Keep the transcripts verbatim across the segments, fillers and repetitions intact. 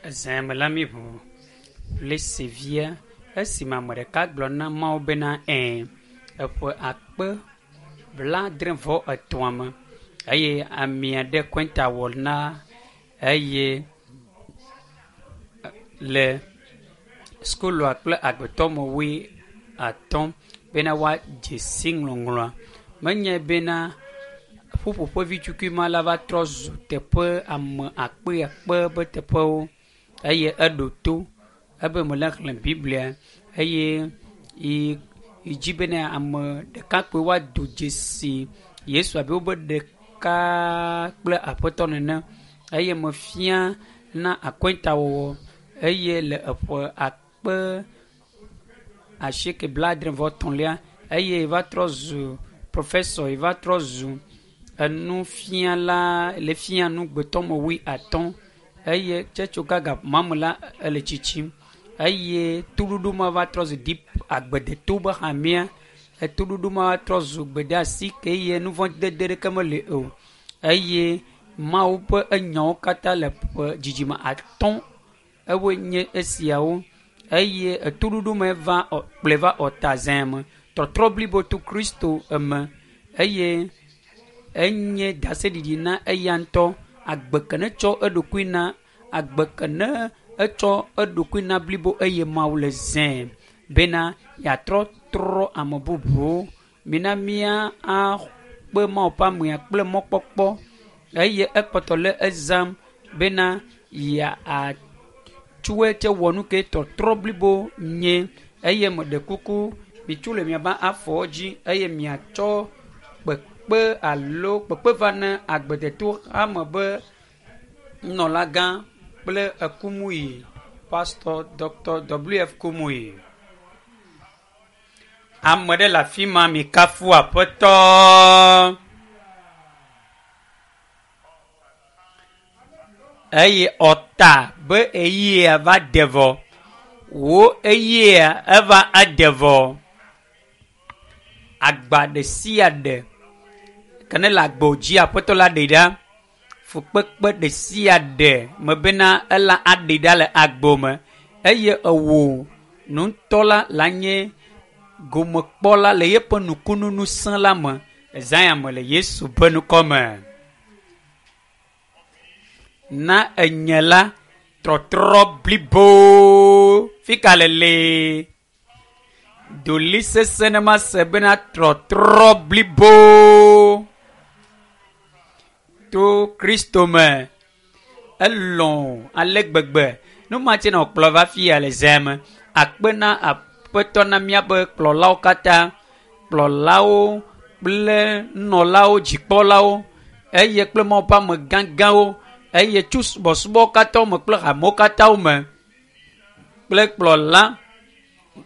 Ezãme la mi ʋu le sevia esime ame ɖeka gblɔ na Mawu bena ɛ̃ eƒe akpe blaadre vɔ etɔ̃a me eye ame aɖe kɔnta wɔ na eye le sukulua kple agbetɔme wui atɔ̃ bena woadze si ŋɔŋlɔa. Menye bena ƒuƒoƒe vi tukui ma la va trɔ zu teƒe ame akpe akpe be teƒewo eye eɖo to ebe mele xlẽ Biblia eye yi yi dzi bena ame ɖekakpui woado dzesi Yesu abe wobe ɖeka kple aƒetɔ nene eye mefia na akɔntawɔwɔ eye le eƒe akpe asieke blaadre vɔ etɔ̃lia eye va trɔ zu professor yi va trɔ zu enufiala le fia nu gbetɔme wui atɔ̃ eye tsɛtso gaga mame la ele tsitsim eye toɖoɖo ma va trɔ zu deep agbedeto be hamea etoɖoɖo ma va trɔ zu gbedeasi ke eye nuvɔdede ɖeke meli o eye Mawu ƒe enyawo katã le ƒe dzidzime atɔ̃ ewoe nye esiawo eye etoɖoɖo me va kplɔe va ɔta zã me tɔtrɔ blibo to Kristo eme eye enye daseɖiɖi na eya ŋutɔ agbe ke ne tsɔ eɖokui na agbe ke ne etsɔ eɖokui na blibo eye Mawu le zãe bena yeatrɔ trɔ ame bubuwo. Mina mía akpe Mawu ƒe amea kple mɔkpɔkpɔ eye ekpɔtɔ le ezam bena yeatsɔe tse wɔ nu ke tɔtrɔ blibo nye eye meɖe kuku mitso le miaƒe afɔwo dzi eye miatsɔ kpekpe alo kpekpe va ne agbedeto hame be nunɔlagã kple Kumuyi, Pastor Dr. W F Kumuyi. Ame ɖe le afi ma mikafu aƒetɔ. Eye ɔta be eyia va de vɔ. Wo eyia eva ede vɔ. Agba ɖe sia ɖe ke ne le agbo dzi aƒetɔ la ɖe ɖa. Fukpekpe ɖe sia ɖe me bena ela aɖe ɖa le agbo me eye ewo ŋutɔ la la nye gomekpɔla le yeƒe nukunu ŋusẽ la me. Ezã me le Yesu ƒe ŋkɔ me. Na enye la trɔtrɔ blibo fika le le. Doli sese ne ma se bena trɔtrɔ blibo to Kristo me. Elɔ̃ ale gbegbe. Nu ma tse na wòkplɔ va fia le zã me. Akpe na aƒetɔ na míaƒe kplɔlawo katã, kplɔlawo kple nunɔlawo, dzikpɔlawo eye kple Mawu ƒe ame gãgãwo eye tso subɔsubɔ katã me kple hamewo katã me kple kplɔla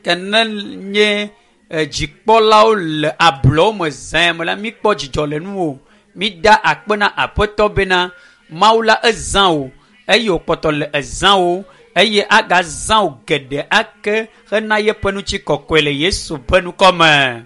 ke ne nye dzikpɔlawo le ablɔwo me zã me la míkpɔ dzidzɔ le nuwò. Mida akpe na aƒetɔ bena Mawu la ezã wò eye wòkpɔtɔ le ezã wò eye agazã wò geɖe ake hena yeƒe ŋutikɔkɔe le Yesu ƒe ŋkɔ me.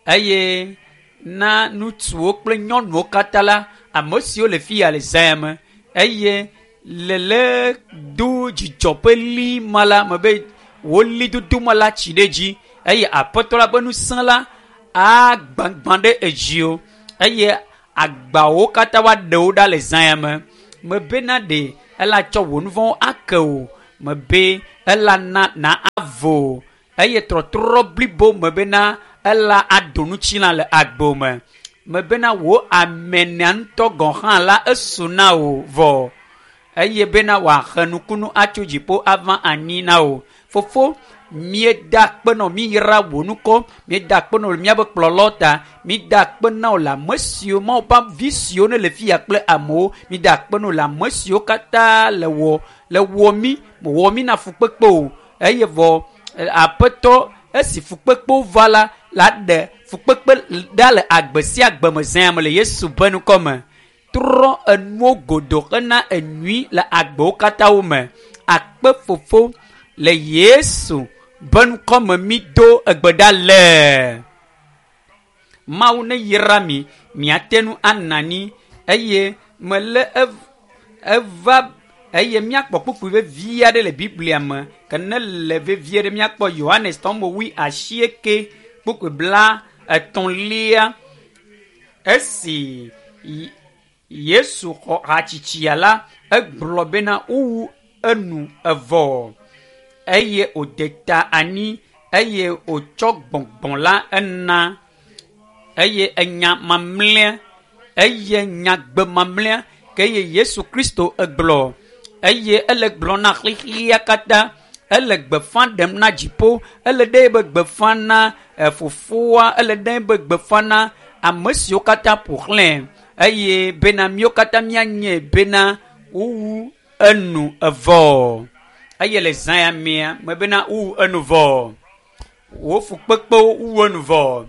Eye na ŋutsuwo kple nyɔnuwo katã la ame siwo le fia le zã me eye le le do dzidzɔ ƒe li ma la me be wo lidodo ma la tsi ɖe dzi eye aƒetɔ la ƒe ŋusẽ la agbagbã ɖe edzi o eye agbawo katã woaɖe wo ɖa le zã me. Mebena ɖe ela tsɔ wò nu vɔ̃wo ake o mebe ela na na avo eye trɔtrɔ blibo mebena ela ado ŋutilã le agbo me. Mebena wò amenea ŋutɔ gɔ̃ hã la esu na wò vɔ eye bena wòahe nukunu atso dziƒo ava anyi na wò. Fofo, míeda akpe na wò, míyra wò ŋkɔ, míeda akpe na wò le míaƒe kplɔlawo ta, míeda akpe na wò le ame siwo Mawu ƒe vi siwo ne le fia kple amewo, míeda akpe na wò le ame siwo katã le wɔ le wɔ mí, mewɔ mí na fukpekpe o eye vɔ aƒetɔ esi fukpekpewo va la la ɖe fukpekpe ɖa le agbe sia agbe me zã me le Yesu ƒe ŋkɔ me. Trɔ enuwo godo hena enyui le agbewo katã wo me. Akpe fofo le Yesu ƒe ŋkɔ me mi do egbe ɖa le. Mawu ne yra mi, miate ŋu ana anyi eye mele eva Eye míakpɔ kpukpui vevi aɖe le Biblia me ke ne le vevie ɖe míakpɔ Yohanes tɔmɔ wui asieke kpukpui bla etɔ̃lia. Esi Yesu xɔ hatsitsia la, egblɔ bena wowu enu evɔ eye wòde ta anyi eye wòtsɔ gbɔgbɔ la ena eye enya mamlɛa eye nyagbe mamlɛa ke eye Yesu Kristo egblɔ eye ele gblɔ na xexea katã ele gbeƒã ɖem na dziƒo ele ɖe be gbeƒã na fofoa ele ɖe be gbeƒã na ame siwo katã ƒo xlãe eye bena míawo katã míanye bena wowu enu evɔ eye le zã ya mea me bena wowu enu vɔ wo fukpekpewo wu enu vɔ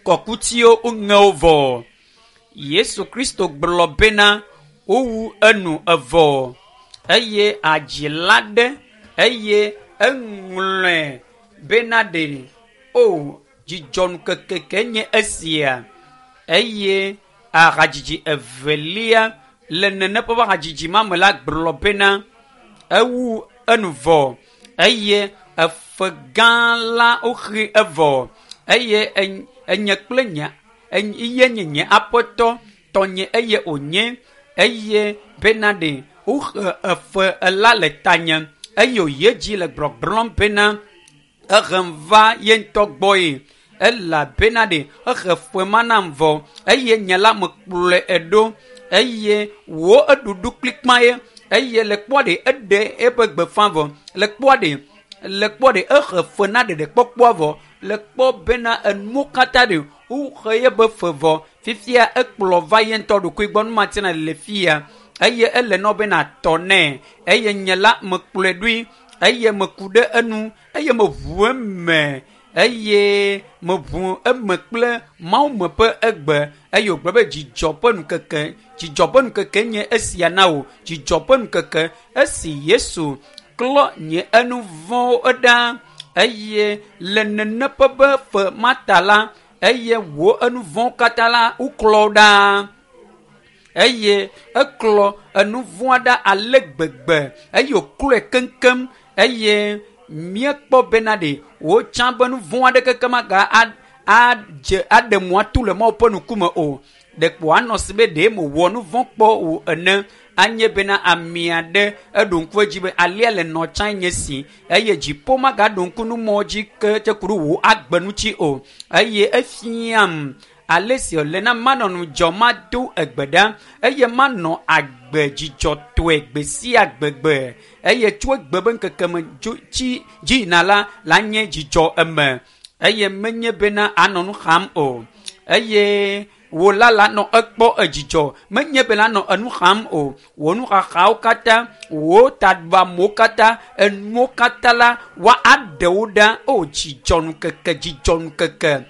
kɔkutiwo woŋe wo vɔ Yesu Kristo gblɔ bena wowu enu evɔ eye adzila ɖe eye eŋlɔe bena ɖe o dzidzɔnukeke ke nye esia eye ahadzidzi evelia le nene ƒe hadzidzi ma me la gblɔ bena ewu enu vɔ eye efe gã la woxi evɔ eye enye kple nye eye nye nye aƒetɔ tɔnye eye wònye eye bena ɖe woxe efe la le tanye eye wòyi edzi le gbɔgblɔm bena ehem va ye ŋutɔ gbɔe elabena ɖe exe fe ma nam vɔ eye nye la mekplɔe eɖo eye wo eɖuɖu kplikpa ye eye le kpɔa ɖe eɖe eƒe gbeƒã vɔ le kpɔa ɖe le kpɔ ɖe exe fe na ɖeɖekpɔkpɔa vɔ le kpɔ bena enuwo katã ɖe woxe yeƒe fe vɔ fifia ekplɔ va ye ŋutɔ ɖokui gbɔ numatina le fia eye ele nɔ bena tɔ nɛ eye nye la mekplɔe ɖoe eye meku ɖe enu eye meʋu eme eye meʋu eme kple Mawu me ƒe egbe eye wògblɔ be dzidzɔ ƒe nukeke dzidzɔ ƒe nukeke nye esia na wò dzidzɔ ƒe nukeke esi Yesu klɔ nye enu vɔ̃wo ɖa eye le nene ƒe be fe mata la eye wò enu vɔ̃wo katã la woklɔ ɖa eye eklɔ enu vɔ̃a ɖa ale gbegbe eye wòklɔe keŋkeŋ eye míekpɔ bena ɖe wotsã be nu vɔ̃ aɖeke keke maga adze aɖe mo atu le Mawu ƒe ŋkume o ɖekpo anɔ si be ɖe mewɔ nu vɔ̃ kpɔ o ene anye bena ame aɖe eɖo ŋku edzi be alia le nɔ tsã nye si eye dziƒo magaɖo ŋku numɔ dzi ke tse ku ɖe wò agbe ŋuti o eye efiam ale si wòle na manɔ ŋudzɔ mado egbe ɖa eye manɔ agbe dzidzɔtɔe gbe sia gbegbe eye tso egbe be ŋkeke me dzo tsi dzi yina la la nye dzidzɔ eme eye menye bena anɔ nu xam o eye wò la la nɔ ekpɔ edzidzɔ menye be la nɔ enu xam o wò nuxaxawo katã wò taɖuamewo katã enuwo katã la wa aɖe wo ɖa o dzidzɔ nukeke dzidzɔ nukeke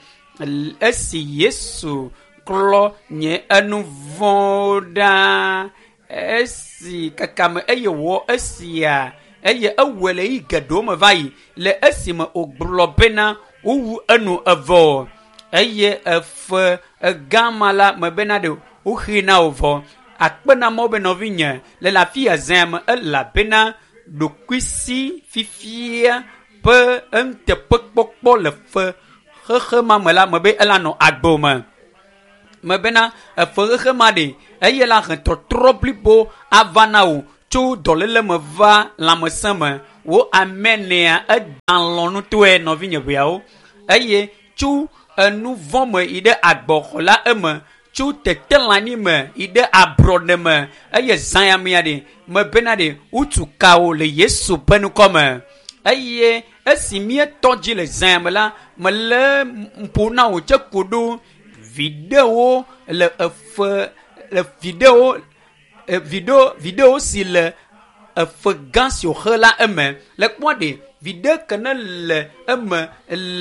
esi Yesu klɔ nye enu vɔ̃wo ɖa esi kaka me eye wɔ esia eye ewɔe le yi geɖewo me va yi le esime wògblɔ bena wowu enu evɔ eye efe egama la me bena ɖe woxi na wò vɔ akpe na Mawu be nɔvinye le le afi ya zã me elabena ɖokuisi fifia ƒe enuteƒekpɔkpɔ le fe xexe ma me la me be ela nɔ agbe me me bena efe xexe ma ɖe eye la he tɔtrɔ blibo ava na wò tso dɔléle me va lãmesẽ me wo amenea eda lɔ ŋutɔe nɔvinye ʋeawo eye tso enu vɔ̃ me yi ɖe agbɔxɔ la eme tso tetelãnyi me yi ɖe ablɔɖe me eye zã ya mea ɖe me bena ɖe wotu ka wo le Yesu ƒe ŋkɔ me eye esi míetɔ dzi le zã ya me la mele ƒo na wò tse ko ɖo viɖewo le efe le viɖewo viɖewo viɖewo si le efe gã si wòxe la eme le kpɔ ɖe viɖe ke ne le eme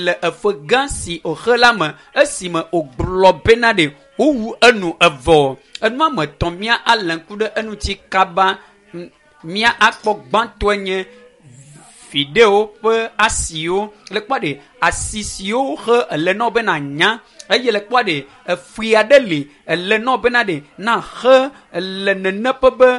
le efe gã si wòxe la me esime wògblɔ bena ɖe wowu enu evɔ enua me tɔ̃ mía alé ŋku ɖe eŋuti kaba mía akpɔ gbãtɔe nye viɖewo ƒe asiwo le kpɔ ɖe asi siwo xe ele nɔ bena nya eye le kpɔ ɖe efui aɖe li ele nɔ bena ɖe na xe le nene ƒe be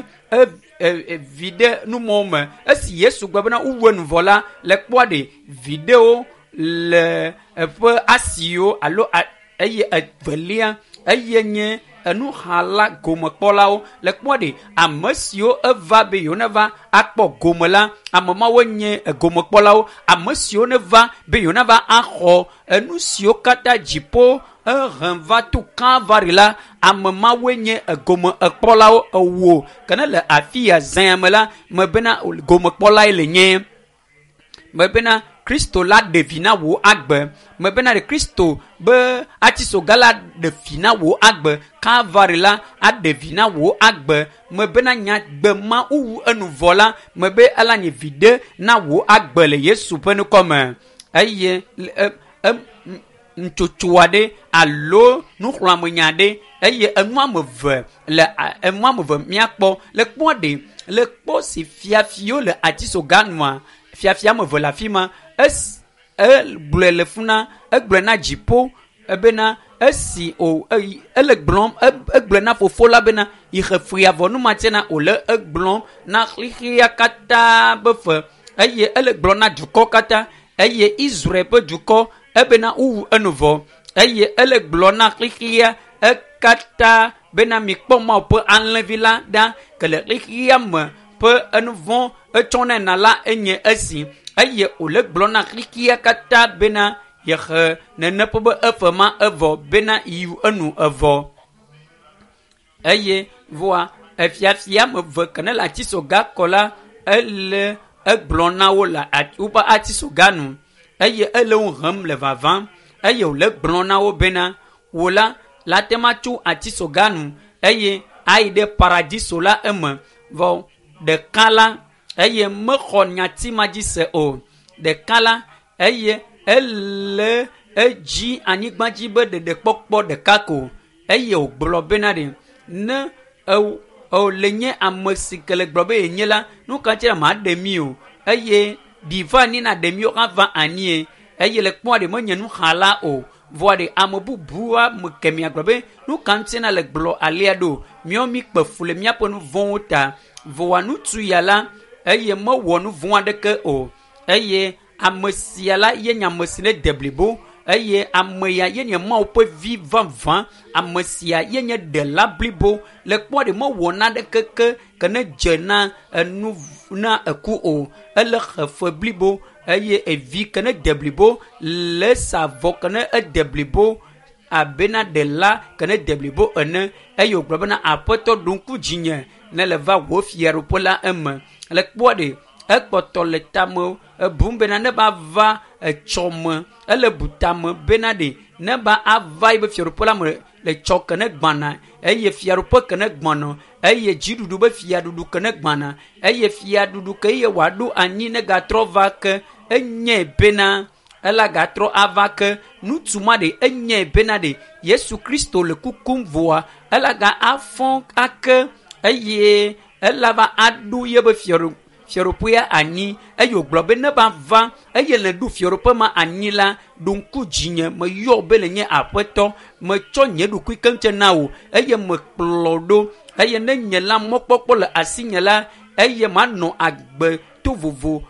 vi ɖe numɔwo me. Esi Yesu gblɔ bena wowu enu vɔ la, le kpɔa ɖe viɖewo le eƒe asiwo alo eye evelia eye nye enuxala gomekpɔlawo. Le kpɔa ɖe ame siwo eva be yewo neva akpɔ gome la, ame mawo nye gomekpɔlawo. Ame siwo neva be yewo neva axɔ enu siwo katã dziƒo ehem va to Kalvari la, ame mawoe nye gomekpɔlawo ewo. Ke ne le afi ya zã me la, me bena gomekpɔlae le nye. Me bena Kristo la ɖe vi na wò agbe. Me bena ɖe Kristo be atisoga la ɖe vi na wò agbe. Kalvari la aɖe vi na wò agbe. Me bena nyagbe ma wowu enu vɔ la, me be ela nye viɖe na wò agbe le Yesu ƒe ŋkɔ me. Eye e, ntsotso aɖe alo nuxlɔ̃amenya aɖe eye enu ame eve le enu ame eve míakpɔ le kpɔ ɖe le kpɔ si fiafiwo le atisoga nua fiafia ame eve le afi ma. Esi egblɔe le funa egblɔe na dziƒo ebena esi o ele gblɔm egblɔe na fofo la bena yixe fia vɔ numatsena wòle egblɔm na xexea katã be fe eye ele gblɔm na dukɔ katã eye Israel ƒe dukɔ ebena wowu enu vɔ eye ele gblɔ na xexea ekatã bena mikpɔ Mawu ƒe alẽvi la ɖa ke le xexea me ƒe enuvɔ etsɔ nɛ na la enye esi eye wòle gblɔ na xexea katã bena yexe nene ƒe be efe ma evɔ bena yi enu evɔ eye voa efiafia ame eve ke ne le atisoga kɔ la ele egblɔ na wo le woƒe atisoga nu eye ele wo hem le vavam eye wòle gblɔ na wo bena wò la la te ma tso atisoga nu eye ayi ɖe paradiso la eme vɔ ɖeka la eye mexɔ nyati ma dzi se o. Ɖeka la eye ele edzi anyigba dzi be ɖeɖekpɔkpɔ ɖeka ko eye wògblɔ bena ɖe ne ew le nye ame si ke le gblɔ be yenye la nu ka ŋuti maɖe mi o eye ɖi va anyi na ɖe mi ava anyie eye le kpɔa ɖe menye nuxala o vɔa ɖe ame bubu ame kemia gblɔ be nu ka ŋuti na le gblɔ alea ɖo míawo mi kpe fu le míaƒe nu vɔ̃wo ta vɔa ŋutsu ya la eye mewɔ nu vɔ̃ aɖeke o eye ame sia la ye nye ame si ne de blibo eye ame ya ye nye Mawu ƒe vi vavã ame sia ye nye ɖela blibo le kpɔa ɖe mewɔ naɖeke ke ke ne dze na enu na eku o ele xefe blibo eye evi ke ne de blibo le sa vɔ ke ne ede blibo abena ɖela ke ne de blibo ene eye wògblɔ bena aƒetɔ ɖo ŋku dzinye ne le va wò fiaɖuƒe la eme le kpɔa ɖe ekpɔtɔ le tame ebum bena ne ba va etsɔme ele bu tame bena ɖe ne ba ava yibe fiaɖuƒe la me le tsɔ ke ne gbana eye fiaɖuƒe ke ne gbana eye dziɖuɖu be fiaɖuɖu ke ne gbana eye fiaɖuɖu ke ye wòaɖo anyi ne gatrɔ va ke enye bena ela gatrɔ ava ke ŋutsu ma ɖe enye bena ɖe Yesu Kristo le kukum voa ela ga afɔ ake eye ela va aɖo yebe fiaɖu fiaɖuƒea anyi eye wògblɔ be ne ba va eye le ɖu fiaɖuƒe ma anyi la ɖo ŋku dzinye meyɔ be le nye aƒetɔ metsɔ nye ɖokui keŋ na wò eye mekplɔ ɖo eye ne nye la mɔkpɔkpɔ le asinye la eye manɔ agbe to vovo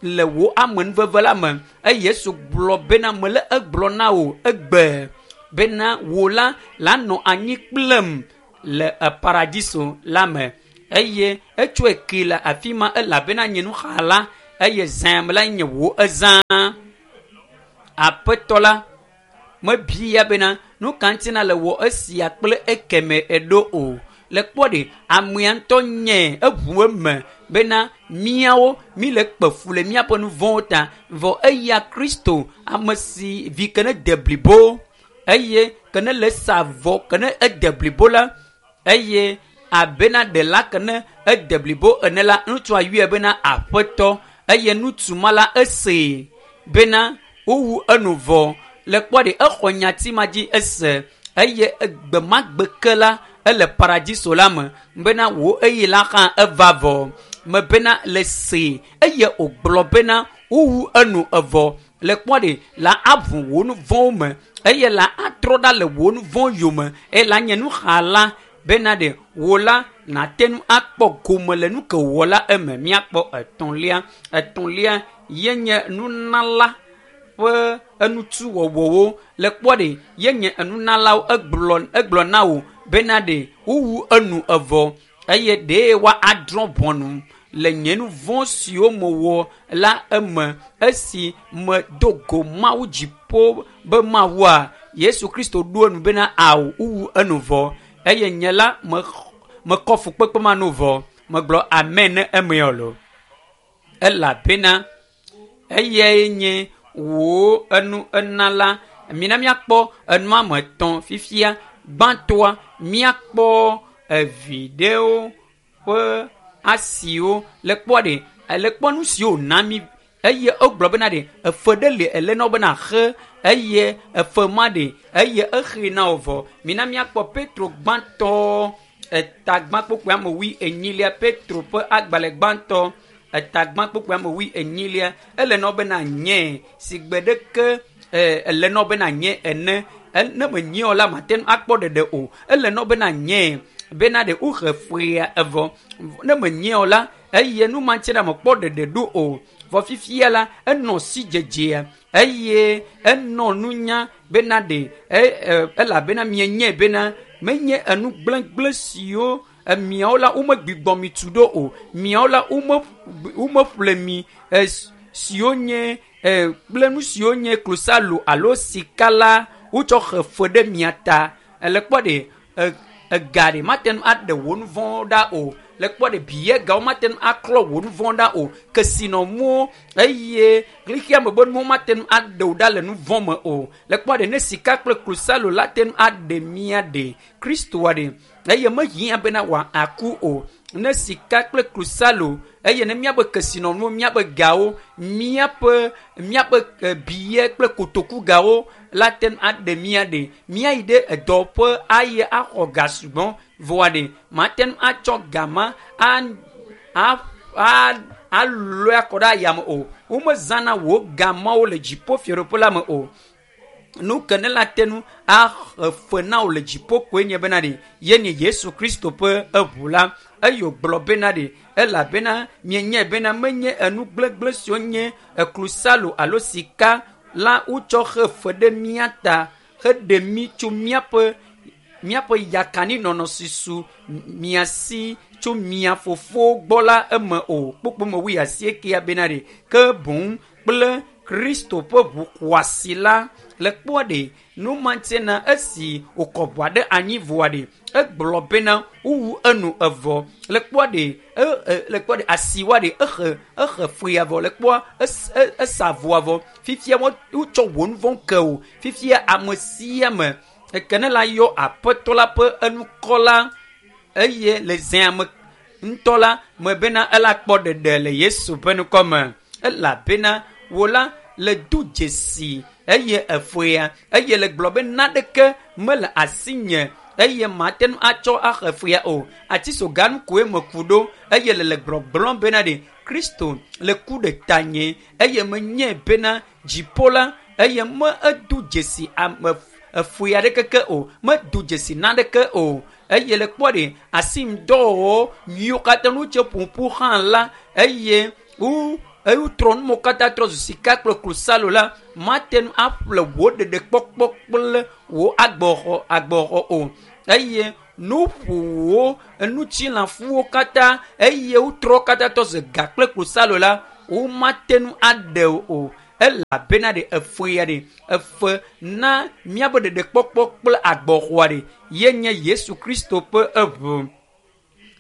le wò amenuveve la me eye Yesu gblɔ bena mele egblɔ na wò egbe bena wò la la nɔ anyi kplem le paradiso la me eye etsɔe ke le afi ma elabena nye nuxala eye zã me la nye wò ezã. Aƒetɔ la mebia bena nu ka ŋuti na le wɔ esia kple ekeme eɖo o. Le kpɔ ɖe amea ŋutɔ nye eʋu eme bena míawo mi le kpe fu le míaƒe nu vɔ̃wo ta vɔ eya Kristo ame si vi ke ne de blibo eye ke ne le sa vɔ ke ne ede blibo la eye abena ɖela ke ne ede blibo ene la ŋutsua yɔe bena aƒetɔ eye ŋutsu ma la esee bena wowu enu vɔ le kpɔ ɖe exɔ nyati ma dzi ese eye egbemagbe ke la ele paradiso la me bena wò eye la hã eva vɔ me bena le see eye wògblɔ bena wowu enu evɔ le kpɔ ɖe la aʋu wò nu vɔ̃wo me eye la atrɔ ɖa le wò nu vɔ̃ yome eye la nye nuxala bena ɖe wò la nate ŋu akpɔ gome le nu ke wɔ la eme. Míakpɔ etɔ̃lia. Etɔ̃lia ye nye nunala ƒe enutuwɔwɔwo. Le kpɔ ɖe ye nye enunalawo egblɔ egblɔ na wo bena ɖe wowu enu evɔ eye ɖee wa adrɔ̃ ʋɔnu le nye nu vɔ̃ siwo mewɔ la eme esi medo go Mawu dziƒo be Mawua. Yesu Kristo ɖo enu bena awu wowu enu vɔ eye nye la me mekɔ fukpekpe ma nu vɔ. Megblɔ amen ne emea lo. Elabena eyae nye wò enu enala. Mina míakpɔ enua me etɔ̃ fifia. Gbãtɔa míakpɔ evi ɖewo ƒe asiwo le kpɔ ɖe le kpɔ nu siwo wòna mí eye egblɔ bena ɖe efe ɖe li ele na wo bena xe eye efe ma ɖe eye exe na wo vɔ. Mina míakpɔ Petro gbãtɔ etagbã kpokpoe ame wui enyilia. Petro ƒe agbalẽ gbãtɔ etagbã kpokpoe ame wui enyilia ele na wo bena nye si gbe ɖeke ele na wo bena nye ene. Ne menye o la mate ŋu akpɔ ɖeɖe o. Ele na wo bena nye bena ɖe wohe fea evɔ. Ne menye o la eye nu ma ŋuti na mekpɔ ɖeɖe ɖo o. Vɔ fifia la enɔ si dzedzea eye enɔ nunya bena ɖe elabena mienye bena menye enu gblẽgblẽ siwo miawo la womegbigbɔ mi tu ɖo o. Miawo la womeƒle mi siwo nye kple nu siwo nye klosalo alo sika la wotsɔ xe fe ɖe mia ta. Le kpɔ ɖe ega ɖe mate ŋu aɖe wò nu vɔ̃wo ɖa o. Le kpɔ ɖe biyegawo mate ŋu aklɔ wò nu vɔ̃ ɖa o. Kesinɔnuwo eye xexea me be nuwo mate ŋu aɖe wò ɖa le nu vɔ̃ me o. Le kpɔ ɖe ne sika kple klosalo la te ŋu aɖe mia ɖe Kristoa ɖe eye mehiã bena wòaku o. Ne sika kple klosalo eye ne míaƒe kesinɔnuwo, míaƒe gawo, míaƒe míaƒe biye kple kotoku gawo la te ŋu aɖe mía ɖe. Míayi ɖe edɔƒe ayi axɔ ga sugbɔ vɔa ɖe mate ŋu atsɔ ga ma a a alɔe akɔ ɖe ayame o. Womezãna wò ga mawo le dziƒo fiaɖuƒe la me o. Nu ke ne la te ŋu axe fe na wò le dziƒo koe nye bena ɖe ye nye Yesu Kristo ƒe eʋu la. Eye wògblɔ bena ɖe elabena mienyae bena menye enu gblegble siwo nye klosalo alo sika la wotsɔ xe fe ɖe mía ta heɖe mí tso míaƒe míaƒe yakaninɔnɔ si su mia si tso mia fofowo gbɔ la eme o. Kpukpu me wui asiekea bena ɖe ke boŋ kple Kristo ƒe ʋu xɔasi la. Le kpɔ ɖe nu ma ŋuti na esi wòkɔ ʋua ɖe anyi vɔa ɖe egblɔ bena wowu enu evɔ. Le kpɔ ɖe le kpɔ ɖe asiwa ɖe exe exe fea vɔ. Le kpɔa esa vɔa vɔ. Fifia wotsɔ wò nu vɔ̃ ke o. Fifia ame sia ame eke ne la yɔ aƒetɔ la ƒe enukɔ la eye le zea me ŋutɔ la me bena ela kpɔ ɖeɖe le Yesu ƒe ŋkɔ me. Elabena wò la le do dzesi eye efea eye le gblɔ be naɖeke mele asinye eye mate ŋu atsɔ axe fea o. Atisoganu koe meku ɖo eye le le gbɔgblɔm bena ɖe Kristo le ku ɖe tanye eye menye bena dziƒo la eye me edo dzesi ame efea ɖekeke o. Medo dzesi naɖeke o. Eye le kpɔ ɖe asimdɔwɔwɔ nyuiwo katã nu tse ƒoƒu hã la eye wo eye wotrɔ nuwo katã trɔ zu sika kple klosalo la mate ŋu aƒle wò ɖeɖekpɔkpɔ kple wò agbɔxɔ agbɔxɔ o. Eye nuƒowo enutsilafuwo katã eye wotrɔ katã trɔ zu ga kple klosalo la womate ŋu aɖe o. Elabena ɖe efea ɖe efe na míaƒe ɖeɖekpɔkpɔ kple agbɔxɔa ɖe ye nye Yesu Kristo ƒe eʋu.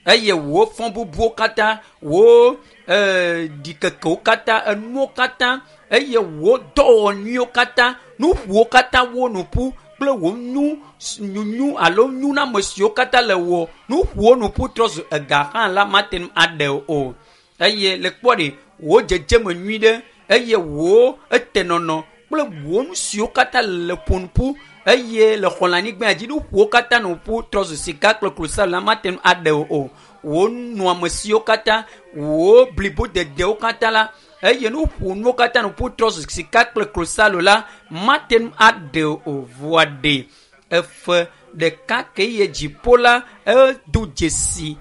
Eye wò fɔ bubuwo katã, wò ɖikekewo katã, enuwo katã eye wò dɔwɔwɔ nyuiwo katã, nuƒowo katã wo nu ƒu kple wò nu nyunyu alo nuname siwo katã le wò nuƒowo nu ƒu trɔ zu ega hã la mate ŋu aɖe o. Eye le kpɔ ɖe wò dzedzeme nyui ɖe eye wò etenɔnɔ kple wò nu siwo katã le ƒonuƒu eye le xɔ le anyigba dzi nuƒowo katã nu ƒu trɔ zu sika kple klosalo la mate ŋu aɖe o. Wò nɔame siwo katã, wò blibodedewo katã la eye nuƒonuwo katã nu ƒu trɔ zu sika kple klosalo la mate ŋu aɖe o. Vɔa ɖe efe ɖeka ke ye dziƒo la edo dzesi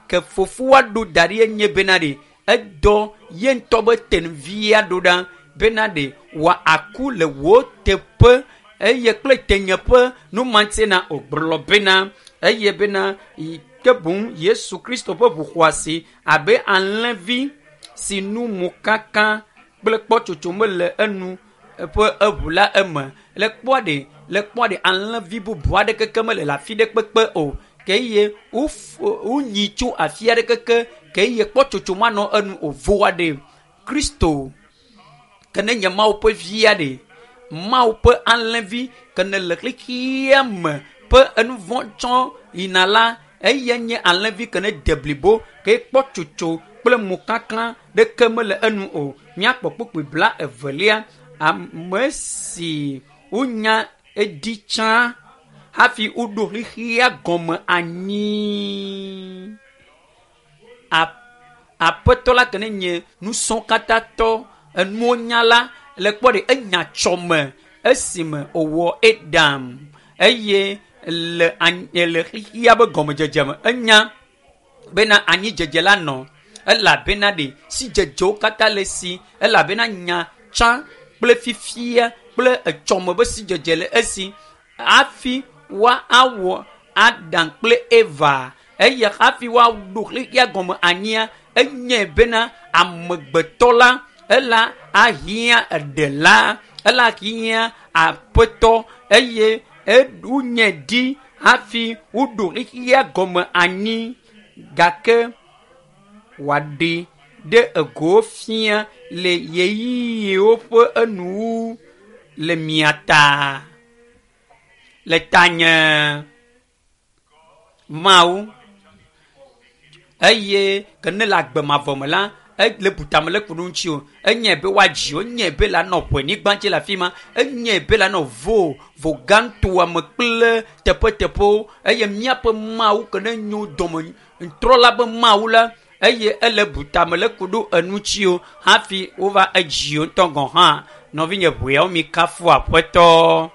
Ke fofoa ɖo da ɖi enye bena ɖe edɔ ye ŋutɔ be tenvia ɖo ɖa bena ɖe wòa aku le wò teƒe eye kple tenyeƒe numatsena wògblɔ bena eye bena ke boŋ Yesu Kristo ƒe ʋu xɔasi abe alẽvi si nu mu kaka kple kpɔtsotso mele enu ƒe eʋu la eme. Le kpɔa ɖe le kpɔa ɖe alẽvi bubu aɖe keke mele le afi ɖe kpekpe o. Ke eye wonyi tso afi aɖe keke ke eye kpɔtsotso manɔ enu o voa ɖe Kristo ke ne nye Mawu ƒe via ɖe Mawu ƒe alẽvi ke ne le xexea me ƒe enuvɔ tsɔ yina la eye nye alẽvi ke ne de blibo ke kpɔtsotso kple mokaka ɖeke mele enu o. Míakpɔ kpukpui bla evelia ame si wonya edi tsã hafi woɖo xexea gɔme anyi. Aƒetɔ la ke ne nye nusɔ̃katãtɔ enuwo nyala le kpɔ ɖe enya tsɔme esime wòwɔ Adam eye le anyi le xexea be gɔmedzedze me enya bena anyidzedze la nɔ elabena ɖe sidzedzewo katã le si elabena nya tsã kple fifia kple etsɔme be sidzedze le esi hafi woa awɔ Adam kple Eva eye hafi woaɖo xexea gɔme anyia enye bena amegbetɔ la ela ahiã eɖela ela hiã aƒetɔ eye wonye ɖi hafi woɖo xexea gɔme anyi gake wòaɖi ɖe ego fia le ɣeyiɣiwo ƒe enuwu le mia ta le tanye Mawu eye ke ne le agbe mavɔ me la le butame le ku ɖe ŋuti o enye be woadzi enye be la nɔ ƒe dzi le afi ma enye be la nɔ vo vo gãtoa me kple teƒeteƒewo eye míaƒe Mawu ke ne nyo dɔme ŋtrɔla be Mawu la eye ele butame le ku ɖo eŋuti o hafi wova edzi ŋutɔ gɔ̃ hã. Nɔvinye ʋeawo mi kafu aƒetɔ.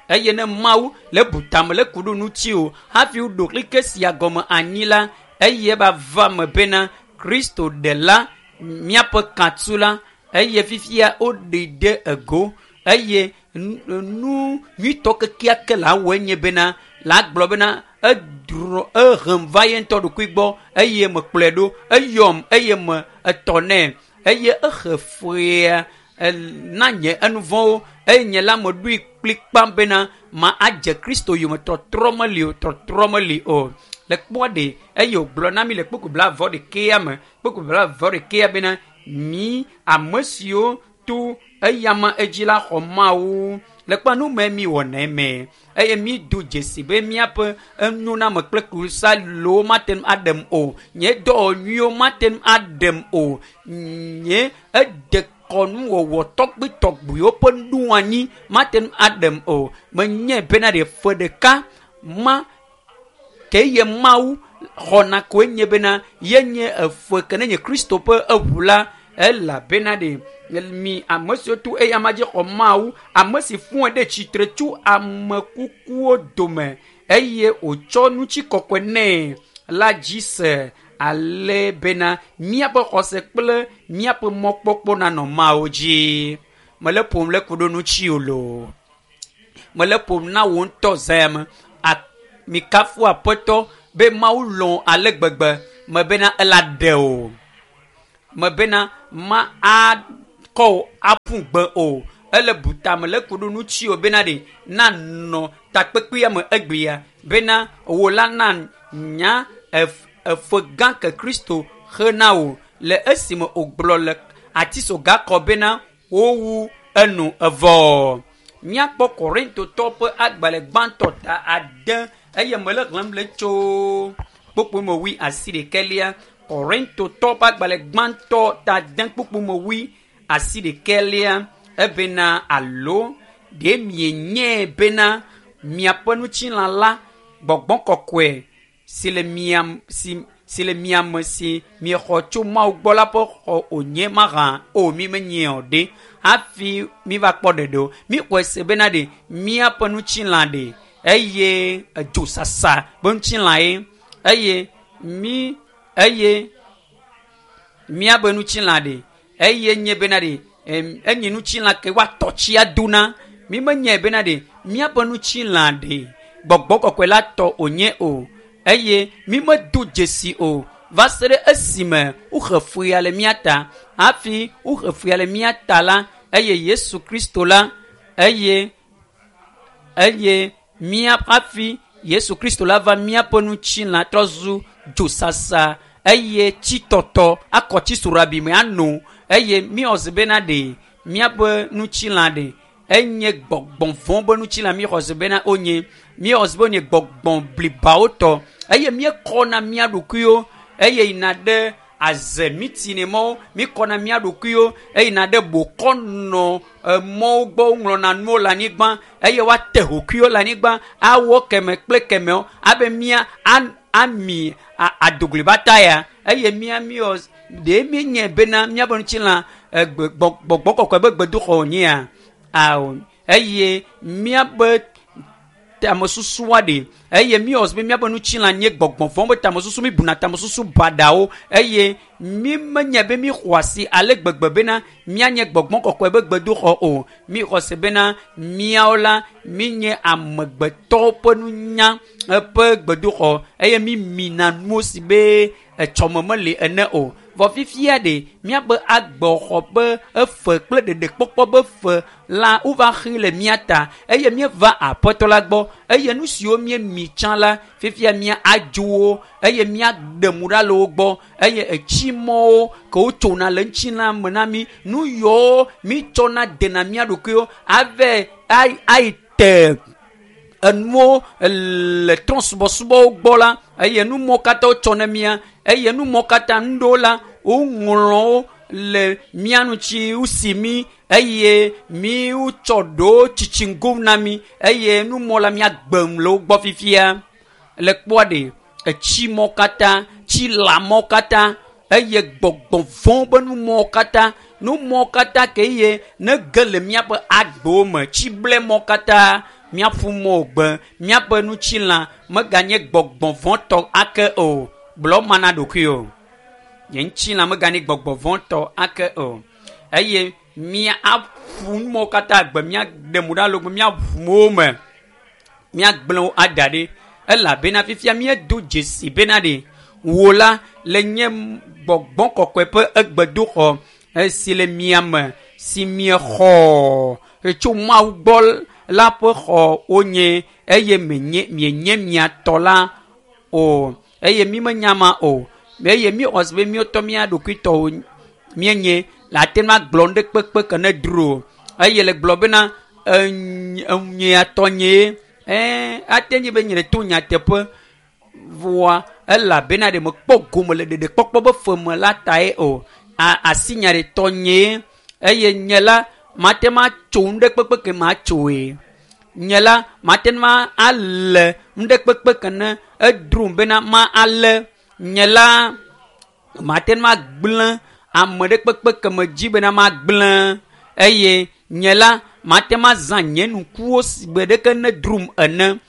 Eye ne Mawu le butame le ku ɖo ŋuti o hafi woɖo xexe sia gɔme anyi la eye ba va me bena Kristo ɖela míaƒe katsu la eye fifia woɖi ɖe ego eye nu nyuitɔ kekeake la wɔe nye bena la gblɔ bena edrɔ ehem va ye ŋutɔ ɖokui gbɔ eye mekplɔe ɖo eyɔm eye me etɔ nɛ eye ehe fea na nye enuvɔwo eye nye la meɖoe kplikpa bena ma adze Kristo yome tɔtrɔ meli o tɔtrɔ meli o. Le kpɔa ɖe eye wògblɔ na mi le kpukpui blaeve ɖekea me kpukpui blaeve ɖekea bena mi ame siwo to eyama edzi la xɔ Mawu le kpɔa nu me mi wɔna eme eye mi do dzesi be míaƒe enyoname kple klosalowo mate ŋu aɖem o nye dɔwɔ nyuiwo mate ŋu aɖem o nye ede kɔnuwɔwɔ tɔgbitɔgbiwo ƒe nuanyi mate ŋu aɖem o menye bena ɖe fe ɖeka ma ke ye Mawu xɔna koe nye bena ye nye efe ke ne nye Kristo ƒe eʋu la elabena ɖe mi ame siwo to eyama dzi xɔ Mawu ame si fɔe ɖe tsitre tso ame kukuwo dome eye wòtsɔ ŋutikɔkɔe nɛ la dzi se ale bena míaƒe xɔse kple míaƒe mɔkpɔkpɔ nanɔ Mawu dzi. Mele ƒom le ku ɖo ŋuti o loo. Mele ƒom na wò ŋutɔ zã me. Mikafu aƒetɔ be Mawu lɔ̃ ale gbegbe me bena ela ɖe o. Me bena ma akɔ wò aƒu gbe o. Ele butame le ku ɖo ŋuti o bena ɖe nanɔ takpekpea me egbea bena wò la na nya efe gã ke Kristo xe na wò le esime wògblɔ le atisoga kɔ bena wowu enu evɔ. Míakpɔ Korintotɔ ƒe agbalẽ gbãtɔ ta ade eye mele xlẽm le tso kpukpui me wui asi ɖekɛlia. Korintotɔ ƒe agbalẽ gbãtɔ ta ade kpukpui me wui asi ɖekɛlia ebena alo ɖe mienyae bena miaƒe ŋutilã la gbɔgbɔ kɔkɔe si le mia si si le mia me si miexɔ tso Mawu gbɔ la ƒe xɔ wònye mahã o mi menye o ɖe hafi miva kpɔ ɖeɖe o. Mixɔe se bena ɖe míaƒe ŋutilã ɖe eye edzosasa be ŋutilã ye Eye mi eye míabe ŋutilã ɖe eye nye bena ɖe enye ŋutilã ke woatɔ tsi ado na. Mi menyae bena ɖe míaƒe ŋutilã ɖe gbɔgbɔ kɔkɔe la tɔ wònye o. Eye mi medo dzesi o va se ɖe esime woxe fuya le mía ta. Hafi woxe fuya le mía ta la, eye Yesu Kristo la, eye eye mía hafi Yesu Kristo la va míaƒe ŋutilã trɔ zu dzosasa eye tsitɔtɔ akɔ tsi soɖabi me ano. Eye míwɔ zi bena ɖe míaƒe ŋutilã ɖe enye gbɔgbɔ vɔ̃ be ŋutilã míxɔ zi bena wonye míwɔ zi be wonye gbɔgbɔ blibawo tɔ. Eye míekɔna mía ɖokuiwo eye yina ɖe aze mitini mɔwo, míkɔna mía ɖokuiwo eyina ɖe bokɔnɔ mɔwo gbɔ woŋlɔna nuwo le anyigba eye woate hokuiwo le anyigba awɔ keme kple kemewo abe mía ami adoglibata ya. Eye mía míwɔ ɖe míenye bena míaƒe ŋutilã gbɔgbɔ kɔkɔe be gbedoxɔ wònyea? Ao. Eye míaƒe tamesusua ɖe eye míwɔ be míaƒe ŋutilã nye gbɔgbɔ vɔ̃ be tamesusu, míbuna tamesusu baɖawo eye mí menye be míxɔ asi ale gbegbe bena míanye gbɔgbɔ kɔkɔe be gbedoxɔ o. Míxɔ se bena míawo la míenye amegbetɔwo ƒe nunya ƒe gbedoxɔ eye mímina nuwo si be etsɔme meli ene o. Vɔ fifia ɖe míaƒe agbexɔ be efe kple ɖeɖekpɔkpɔ be fe la wova xi le mía ta eye míeva aƒetɔ la gbɔ eye nu siwo míemi tsã la fifia mía adzowo eye míaɖe mu ɖa le wo gbɔ eye etsi mɔwo ke wotsona le ŋutilã me na mí nu yiwo mítsɔna dena mía ɖokuiwo ave ayi te enuwo le trɔ̃subɔsubɔwo gbɔ la eye numɔwo katã wotsɔ ne mía eye numɔwo katã nu ɖewo la woŋlɔ wo le mía ŋuti wosi mí eye mí wotsɔ ɖewo tsitsiŋgo na mí eye numɔ la míagbem le wo gbɔ fifia. Le kpɔa ɖe etsi mɔ katã, tsi lãmɔ katã eye gbɔgbɔ vɔ̃ be numɔwo katã, numɔwo katã ke eye ne ge le míaƒe agbewo me, tsi ble mɔ katã míaƒu mɔ gbe míaƒe ŋutilã meganye gbɔgbɔ vɔ̃ tɔ ake o. Gblɔ ma na ɖokui o. Nye ŋutilã meganye gbɔgbɔ vɔ̃ tɔ ake o. Eye mía aƒu numɔwo katã gbe míaɖe mu ɖa le wo míaʋu wo me míagblẽ wo ada ɖi elabena fifia míedo dzesi bena ɖe wò la le nye gbɔgbɔ kɔkɔe ƒe egbedoxɔ si le mia me si miexɔ tso Mawu gbɔ la ƒe xɔ wonye eye menye mienye mia tɔ la o eye mi menya ma o eye míxɔ se be míwotɔ mía ɖokuitɔwo míenye le ate ŋu agblɔ nu ɖe kpekpe ke ne dro eye le gblɔ bena enyea tɔnyee ɛɛ ate nyi be nye le to nyateƒe voa elabena ɖe mekpɔ gome le ɖeɖekpɔkpɔ be fe me la tae o. Asi nya ɖe tɔnyee eye nye la mate ŋu atso nu ɖe kpekpe ke matsoe. Nye la mate ŋu alé nu ɖe kpekpe ke ne edrom bena ma alé. Nye la mate ŋu agblẽ ame ɖe kpekpe ke medzi bena magblẽ eye nye la mate ŋu azã nye nukuwo si gbe ɖeke ne drom ene.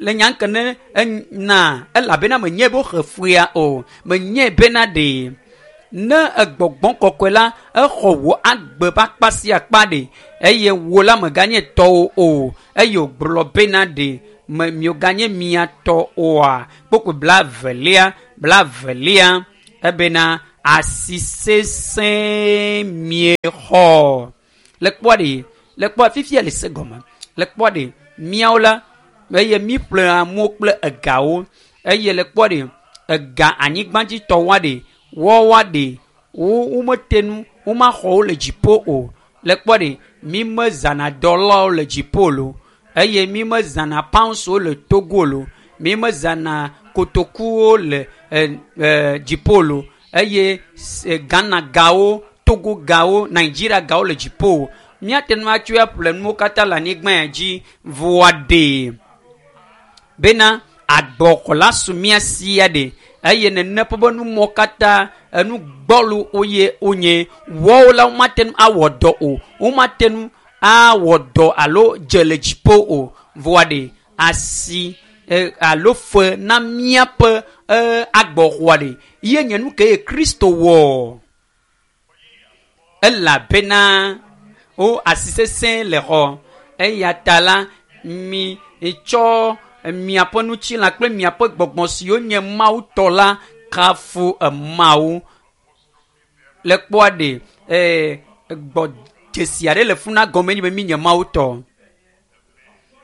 Le nya ke ne na elabena menye be woxe fuya o, menye bena ɖe ne egbɔgbɔ kɔkɔe la exɔ wò agbe ƒe akpa sia akpa ɖe eye wò la meganye tɔwò o eye wògblɔ bena ɖe me mioganye mia tɔ oa. Kpokpo blaevelia blaevelia ebena asi sesẽ miexɔ. Le kpɔa ɖe le kpɔa fifia le se gɔme le kpɔa ɖe míawo la eye míƒle amewo kple egawo eye le kpɔa ɖe ega anyigbadzitɔwoa ɖe woawoa ɖe wo womete nu womaxɔ wo le dziƒo o. Le kpɔa ɖe mi mezãna dɔlawo le dziƒo lo eye mi mezãna poundswo le Togo lo, mi mezãna kotokuwo le e e dziƒo lo eye Ghana gawo, Togo gawo, Nigeria gawo le dziƒo. Míate ŋu atsɔe aƒle nuwo katã le anyigba ya dzi voa ɖe bena agbɔxɔla su mía si ya ɖe eye nene ƒe be numɔ katã enu gbɔlo woye wonye wɔwo la womate ŋu awɔ dɔ o, womate ŋu awɔ dɔ alo dze le dziƒo o. Voa ɖe asi alo fe na míaƒe agbɔxɔa ɖe ye nye nu ke ye Kristo wɔ elabena wo asi sesẽ le xɔ eya ta la mi tsɔ miaƒe ŋutilã kple miaƒe gbɔgbɔ siwo nye Mawu tɔ la kafu Mawu le kpɔa ɖe ee gbɔ dzesi aɖe le funa gɔme nye be mi nye Mawu tɔ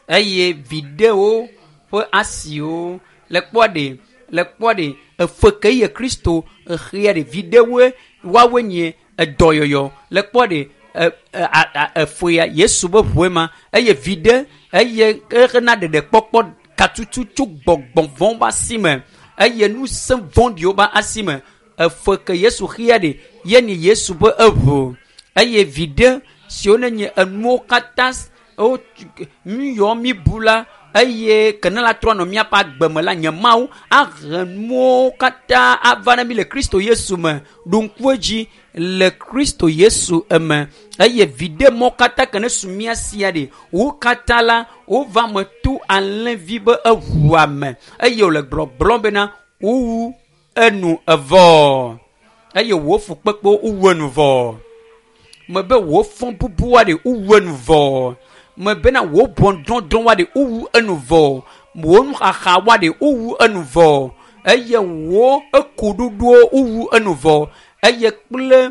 eye viɖewo ƒe asiwo le kpɔa ɖe le kpɔa ɖe efe ke ye Kristo exea ɖe viɖewoe woawoe nye edɔyɔyɔ le kpɔa ɖe efe ya Yesu be ʋue ma eye viɖe eye exena ɖeɖekpɔkpɔ katutu tso gbɔgbɔ vɔ̃wo ƒe asi me eye ŋusẽ vɔ̃ɖiwo ƒe asi me efe ke Yesu xea ɖe ye nye Yesu ƒe eʋu eye viɖe siwo ne nye enuwo katã wo nu yɔ mi bu la eye ke ne la trɔ nɔ míaƒe agbe me la nye Mawu ahe nuwo katã ava na mi le Kristo Yesu me ɖo ŋku edzi le Kristo Yesu eme eye viɖe mɔ katã ke ne su mía sia ɖe wo katã la wova me to alẽvi be eʋua me eye wòle gblɔgblɔm bena wowu enu evɔ eye wò fukpekpewo wowu enu vɔ mebe wò fɔ bubua ɖe wowu enu vɔ mebena wò ʋɔnudɔdrɔ̃ ɖe wowu enu vɔ wò nuxaxa ɖe wowu enu vɔ eye wò ekuɖuɖuwo wowu enu vɔ eye kple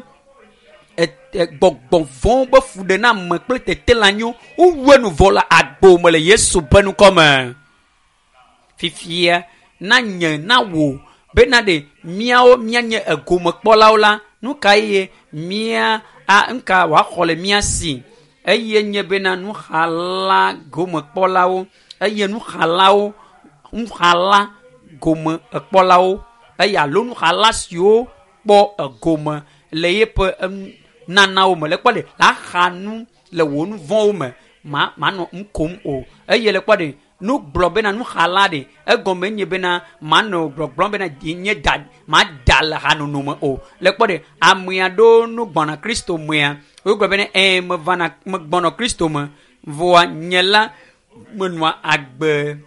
gbɔgbɔ vɔ̃wo be fuɖename kple tetelanyiwo wowu enu vɔ le agbo me le Yesu ƒe ŋkɔ me. Fifia na nye na wò bena ɖe míawo míanye egomekpɔlawo la nu ka ye mía a nuka wòaxɔ le mía si eye nye bena nuxala gomekpɔlawo eye nuxalawo nuxala gomekpɔlawo eye alo nuxala siwo kpɔ egome le yeƒe nanawo me le kpɔ ɖe la xa nu le wò nu vɔ̃wo me ma manɔ nu kom o eye le kpɔ ɖe nu gblɔ bena nuxala ɖe egɔme nye bena manɔ gbɔgblɔm bena nye da ma da le hanono me o le kpɔ ɖe ame aɖewo nu gbɔna Kristo mea wogblɔ bena ɛɛ mevana megbɔnɔ Kristo me vɔa nye la menɔa agbe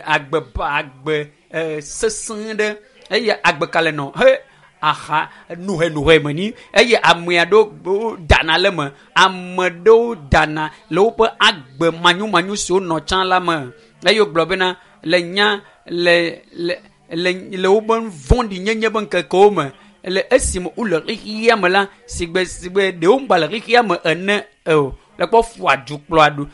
agbe agbe ee sesẽ ɖe eye agbe ka le nɔ he aha nuhenuhe me ni eye ame aɖewo dana le me ame aɖewo dana le woƒe agbe manyomanyo siwo nɔ tsã la me eye wogblɔ bena le nya le le le le woƒe vɔ̃ɖinyenye ƒe ŋkekewo me le esime wole xexea me la sigbe sigbe ɖewo ŋgba le xexea me ene o le kpɔ ƒo adu kplɔ aɖu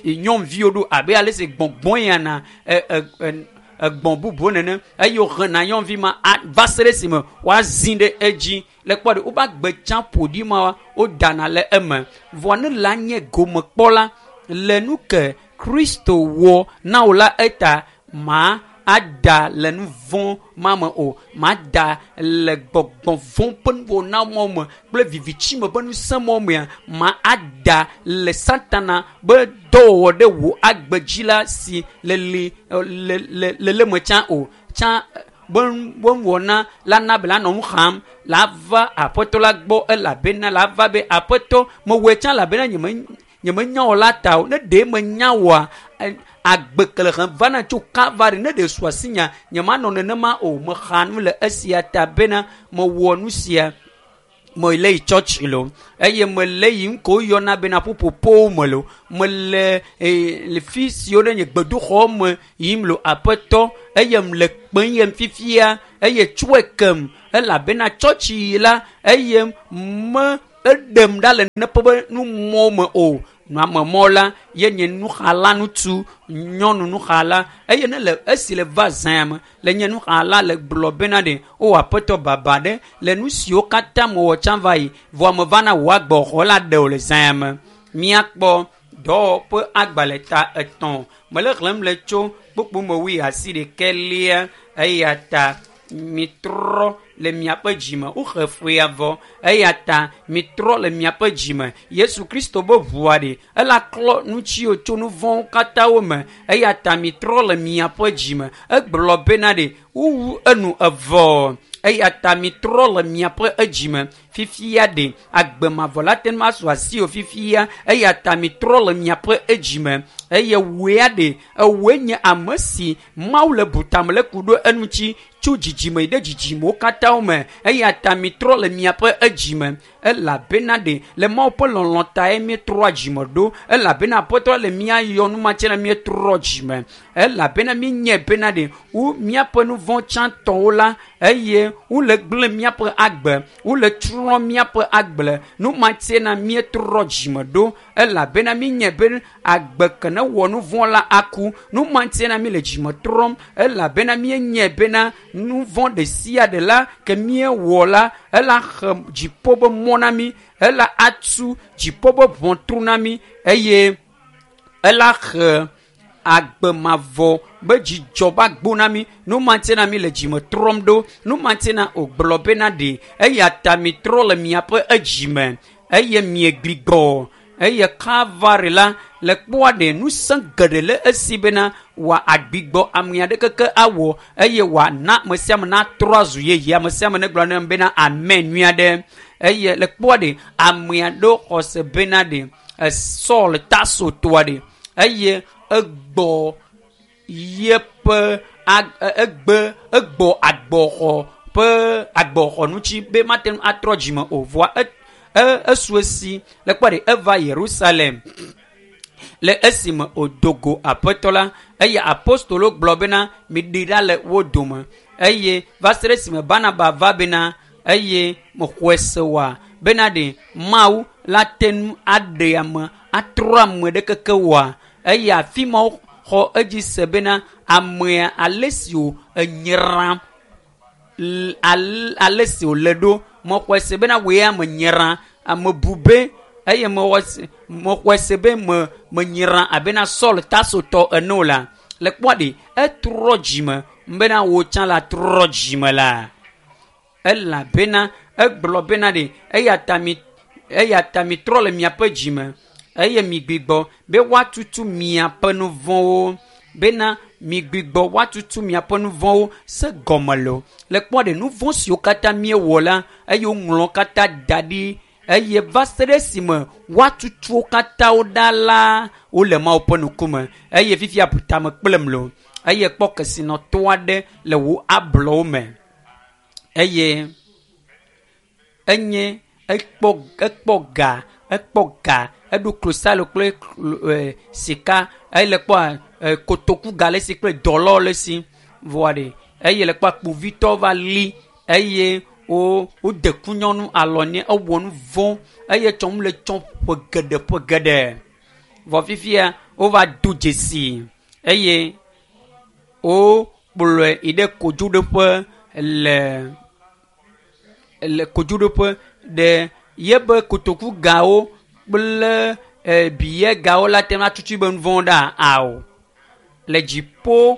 nyɔnuviwo ɖo abe ale si gbɔgbɔ yana e e egbɔ̃ bubuwo nene eye wohena nyɔnuvi ma va se ɖe esime woazi ɖe edzi le kpɔ ɖe woƒe agbe tsã ƒoɖi ma wodana le eme vɔ ne la nye gomekpɔla le nu ke Kristo wɔ na wò la eta ma ada le nu vɔ̃ ma me o ma da le gbɔgbɔ vɔ̃ ƒe nuwɔna me kple vivitsi me ƒe ŋusẽ mɔ mea ma ada le Satana be dɔwɔwɔ ɖe wò agbe dzi la si le li le le le le me tsã o tsã be be nuwɔna la na be la nɔ nu xam la va aƒetɔ la gbɔ elabena la va be aƒetɔ mewɔe tsã elabena nye me nye menya wò la ta o ne ɖe menya wòa agbe ke le hem vana tso Kalvari ne ɖe su asinya nye manɔ nenema o mexa nu le esia ta bena mewɔ nu sia mele yi tsɔtsi lo eye mele yi ŋko woyɔna bena ƒuƒoƒowo me lo mele le fi siwo ɖe nye gbedoxɔ me yim lo aƒetɔ eye mle kpem yem fifia eye tsɔe kem elabena tsɔtsi yi la eye me eɖem ɖa le neƒe be numɔ me o nuamemɔ la ye nye nuxala ŋutsu nyɔnu nuxala eye ne le esi le va zã me le nye nuxala le gblɔ bena ɖe o aƒetɔ baba ɖe le nu siwo katã mewɔ tsã va yi vɔa meva na wò agbɔxɔ la ɖe o le zã me míakpɔ dɔwɔƒe agbalẽ ta etɔ̃ mele xlẽm le tso kpukpu me wui asi ɖekɛ lia eya ta mitrɔ le miaƒe dzime woxe fea vɔ eya ta mitrɔ le miaƒe dzime Yesu Kristo be ʋua ɖe ela klɔ nutsiwo tso nu vɔ̃wo katã wo me eya ta mitrɔ le miaƒe dzime egblɔ bena ɖe wowu enu evɔ eya ta mitrɔ le miaƒe edzime fifia ɖe agbe mavɔ la te ŋu asu asiwò fifia eya ta mitrɔ le miaƒe edzime Eye woea ɖe ewoe nye ame si Mawu le butame le ku ɖo eŋuti tso dzidzime yi ɖe dzidzimewo katã me. Eya ta mitrɔ le miaƒe edzime elabena ɖe le Mawu ƒe lɔlɔ tae míetrɔa dzime ɖo elabena Aƒetɔ le mía yɔ numatsɛ na míetrɔ dzime elabena míenyae bena ɖe wo míaƒe nu vɔ̃ tsãtɔwo la eye wole gblẽ míaƒe agbe wole trɔ míaƒe agble numatsɛ na míetrɔ dzime ɖo elabena míenyae be agbe ke ne wɔ nu vɔ̃ la aku numatsɛ na mí le dzime trɔm elabena míenyae bena nu vɔ̃ ɖe sia ɖe la ke míewɔ la ela xe dziƒo be mɔ na mí ela atu dziƒo be ʋɔtru na mí eye ela xe agbe mavɔ be dzidzɔ be agbo na mí numatsɛ na mí le dzime trɔm ɖo numatsɛ na wògblɔ bena ɖe eya ta mitrɔ le miaƒe edzime eye miegbigbɔ eye Kalvari la le kpɔa ɖe ŋusẽ geɖe le esi bena wòa agbigbɔ ame aɖe keke awɔ eye wòana ame sia ame natrɔ azu yeye ame sia ame negblɔ ne bena amen nyui aɖe eye le kpɔa ɖe ame aɖewo xɔ se bena ɖe Saul Tarso toa ɖe eye egbɔ yeƒe egbe egbɔ agbɔxɔ ƒe agbɔxɔ ŋuti be mate ŋu atrɔ dzime o vɔa esu esi le kpɔ ɖe eva Yerusalem le esime wòdo go Aƒetɔ la eye apostolo gblɔ bena miɖi ɖa le wo dome eye va se ɖe esime Barnaba va bena eye mexɔe se oa bena ɖe Mawu la te ŋu aɖe ame atrɔ ame ɖe keke wɔa eye afi ma xɔ edzi se bena amea ale si wo enyra ale si wòle ɖo mexɔe se bena woe ame nyra ame bu be eye mexɔe se be me menyra abena Saul Tarsotɔ ene o la le kpɔa ɖe etrɔ dzime bena wò tsã la trɔ dzime la elabena egblɔ bena ɖe eya ta mi eya ta mitrɔ le miaƒe dzime eye migbigbɔ be woatutu miaƒe nu vɔ̃wo bena migbigbɔ woatutu miaƒe nu vɔ̃wo se gɔme lo le kpɔ ɖe nu vɔ̃ siwo katã míewɔ la eye woŋlɔ katã da ɖi eye va se ɖe esime woatutu wo katã wo ɖa la wole Mawu ƒe ŋkume eye fifia bu tame kplem lo eye kpɔ kesinɔtɔ aɖe le wò ablɔwo me eye enye ekpɔ ekpɔ ga ekpɔ ga eɖo klosalo kple sika eye le kpɔ kotoku ga le esi kple dɔlɔ le esi vɔa ɖe eye le kpɔ kpovitɔ va li eye wo wode kunyɔnu alɔ nɛ ewɔ nu vɔ̃ eye tsɔm le tsɔ ƒe geɖe ƒe geɖe vɔ fifia wova do dzesi eye wokplɔe yi ɖe kodzoɖoƒe le le kodzoɖoƒe ɖe yebe kotoku gawo kple biye gawo la te ŋu atutu be nu vɔ̃ ɖa ao le dziƒo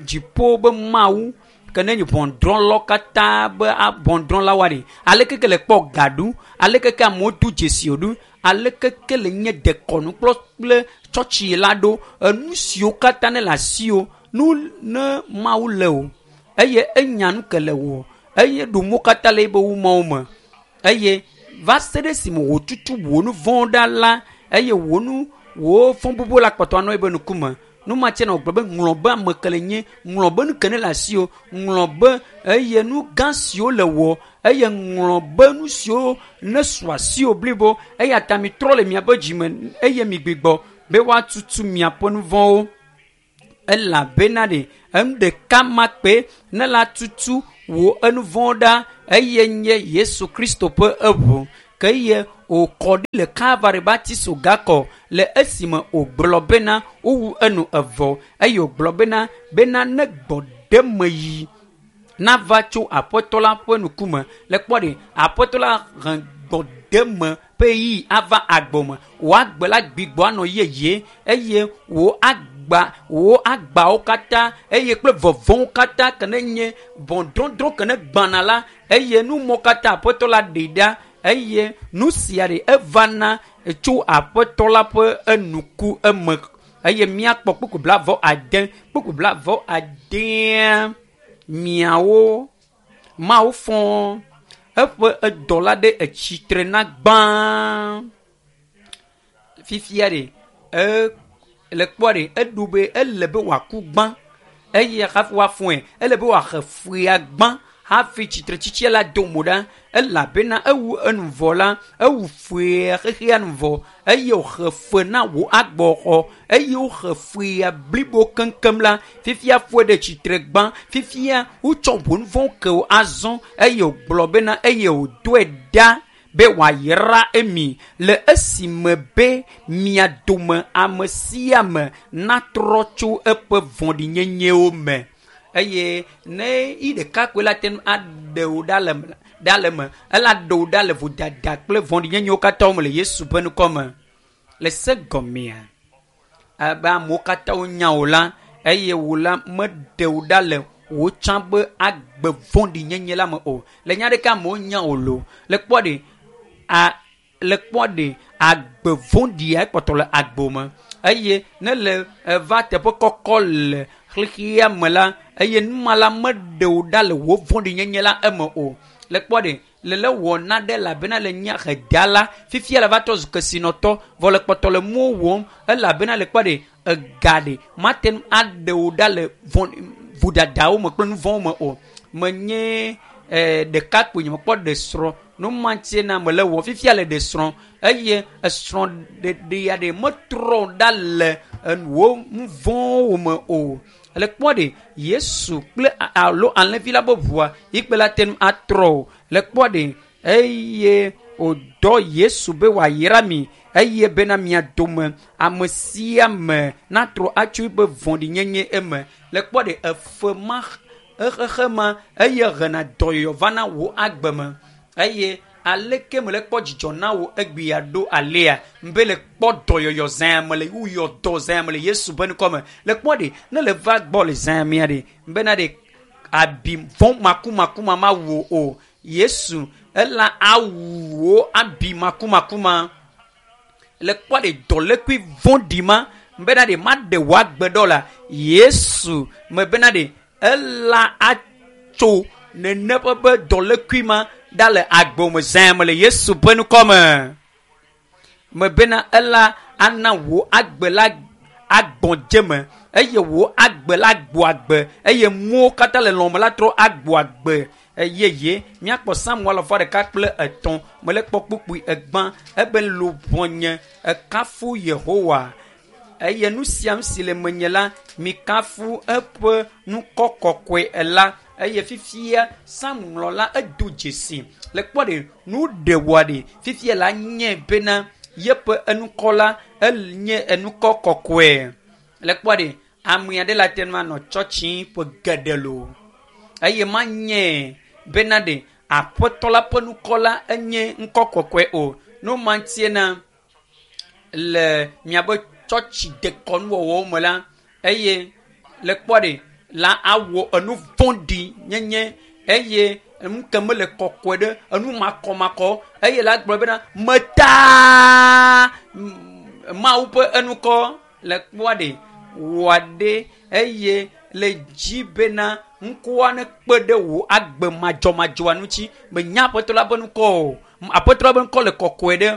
dziƒo be Mawu ke ne nye ʋɔnudrɔ̃lawo katã be ʋɔnudrɔ̃lawoa ɖe aleke ke le kpɔ ga ɖu aleke ke amewo do dzesi ɖu aleke ke le nye dekɔnu kple kple tsɔtsi la ɖo enu siwo katã ne le asiwò nu ne Mawu le o eye enya nu ke le wò eye ɖomo katã le ebe wumɔwo me eye va se ɖe esime wòtutu wò nu vɔ̃wo ɖa la eye wò nu wò fɔ bubu la kpɔtɔ anɔ ebe ŋkume numatsɛ na wògblɔ be ŋlɔ be ame ke le nye ŋlɔ be nu ke ne le asiwò ŋlɔ be eye nu gã siwo le wɔ eye ŋlɔ be nu siwo ne su asiwò blibo eya ta mitrɔ le miaƒe dzime eye migbigbɔ be woatutu miaƒe nu vɔ̃wo elabena ɖe enu ɖeka ma kpe ne la tutu wò enu vɔ̃wo ɖa eye nye Yesu Kristo ƒe eʋu ke eye wòkɔ ɖi le Kalvari be atisoga kɔ le esime wògblɔ bena wowu enu evɔ eye wògblɔ bena bena ne gbɔɖemeyi nava tso Aƒetɔ la ƒe ŋkume le kpɔ ɖe Aƒetɔ la he gbɔɖeme ƒe ɣeyiɣi ava agbɔme wò agbe la gbigbɔ anɔ yeye eye wò agba wò agbawo katã eye kple vɔvɔ̃wo katã ke ne nye ʋɔnudɔdrɔ̃ ke ne gbãna la eye numɔ katã Aƒetɔ la ɖe ɖa eye nu sia ɖe evana tso Aƒetɔ la ƒe enuku eme eye míakpɔ kpukpu blavɔ ade kpukpu blavɔ adea miawo Mawu fɔ eƒe edɔla ɖe etsitre na gbã fifia ɖe e Le kpɔ ɖe eɖo be ele be wòaku gbã eye hafi woafɔe ele be wòaxe fuya gbã hafi tsitretsitsia la do mo ɖa elabena ewu enu vɔ la ewu fuya xexea nu vɔ eye wòxe fe na wò agbɔxɔ eye woxe fuya blibo keŋkeŋ la fifia fɔe ɖe tsitre gbã fifia wotsɔ wò nu vɔ̃wo ke wò azɔ eye wògblɔ bena eye wòdoe ɖa be wòayra emi le esime be mia dome ame sia ame natrɔ tso eƒe vɔ̃ɖinyenyewo me eye ne yi ɖeka koe la te ŋu aɖe wò ɖa le ɖa le me ela ɖe wò ɖa le vodada kple vɔ̃ɖinyenyewo katã me le Yesu ƒe ŋkɔ me le se gɔmea abe amewo katã wonya wò la eye wò la meɖe wò ɖa le wò tsã be agbe vɔ̃ɖinyenye la me o le nya ɖeka amewo nya wò lo le kpɔ ɖe a le kpɔ ɖe agbe vɔ̃ɖia ekpɔtɔ le agbo me eye ne le eva teƒe kɔkɔ le xexea me la eye numa la meɖe wò ɖa le wò vɔ̃ɖinyenye la eme o le kpɔ ɖe le le wɔ na ɖe elabena le nye hedala fifia le va trɔ zu kesinɔtɔ vɔ le kpɔtɔ le nuwo wɔm elabena le kpɔ ɖe ega ɖe mate ŋu aɖe wò ɖa le vɔ̃ vodadawo me kple nu vɔ̃wo me o menye ɛɛ ɖekakpui nye mekpɔ ɖe srɔ̃ nu ma ŋutie na mele wɔ fifia le ɖe srɔ̃ eye esrɔ̃ ɖeɖea ɖe metrɔ ɖa le wò nu vɔ̃wo me o le kpɔ ɖe Yesu kple alo alẽvi la be ʋua yi kpe la te ŋu atrɔ o le kpɔ ɖe eye wòdɔ Yesu be wòayra mi eye bena mia dome ame sia ame natrɔ atso eƒe vɔ̃ɖinyenye eme le kpɔ ɖe efe ma exexe ma eye hena dɔyɔyɔ va na wò agbe me eye aleke mele kpɔ dzidzɔ na wò egbea ɖo alea be le kpɔ dɔyɔyɔ zã me le wuyɔ dɔ zã me le Yesu ƒe ŋkɔ me le kpɔ ɖe ne le va gbɔ le zã mea ɖe bena ɖe abi vɔ̃ makumakuma ma wu o Yesu ela awu wò abi makumakuma le kpɔ ɖe dɔlékui vɔ̃ɖi ma bena ɖe maɖe wò agbe ɖɔ la Yesu me bena ɖe ela atso nene ƒe be dɔlékui ma ɖa le agbe me zã me le Yesu ƒe ŋkɔ me me bena ela ana wò agbe la agbɔdze me eye wò agbe la gbɔ agbe eye muwo katã le lɔme la trɔ agbɔ agbe yeye míakpɔ Samuel alafa ɖeka kple etɔ̃ mele kpɔ kpukpui egbã ebe luʋɔnye ekafu Yehowa eye nu sia nu si le menye la mikafu eƒe ŋkɔ kɔkɔe la eye fifia Samuel la edo dzesi le kpɔ ɖe nu ɖe wɔ ɖe fifia la nye bena yeƒe enukɔ la enye enukɔ kɔkɔe le kpɔ ɖe ame aɖe la te ŋu anɔ tsɔtsi ƒe geɖe lo eye manye bena ɖe aƒetɔ la ƒe ŋkɔ la enye ŋkɔ kɔkɔe o no ma ŋutie na le miabe tsɔtsi dekɔnuwɔwɔwo me la eye le kpɔ ɖe la awɔ enu vɔ̃ɖi nyenye eye enu ke mele kɔkɔe ɖe enu makɔmakɔ eye la gblɔ bena metaa Mawu ƒe enukɔ le kpɔa ɖe wɔ ɖe eye le dzi bena ŋkɔa ne kpe ɖe wò agbe madzɔmadzɔa ŋuti menya aƒetɔ la ƒe ŋkɔ o aƒetɔ la ƒe ŋkɔ le kɔkɔe ɖe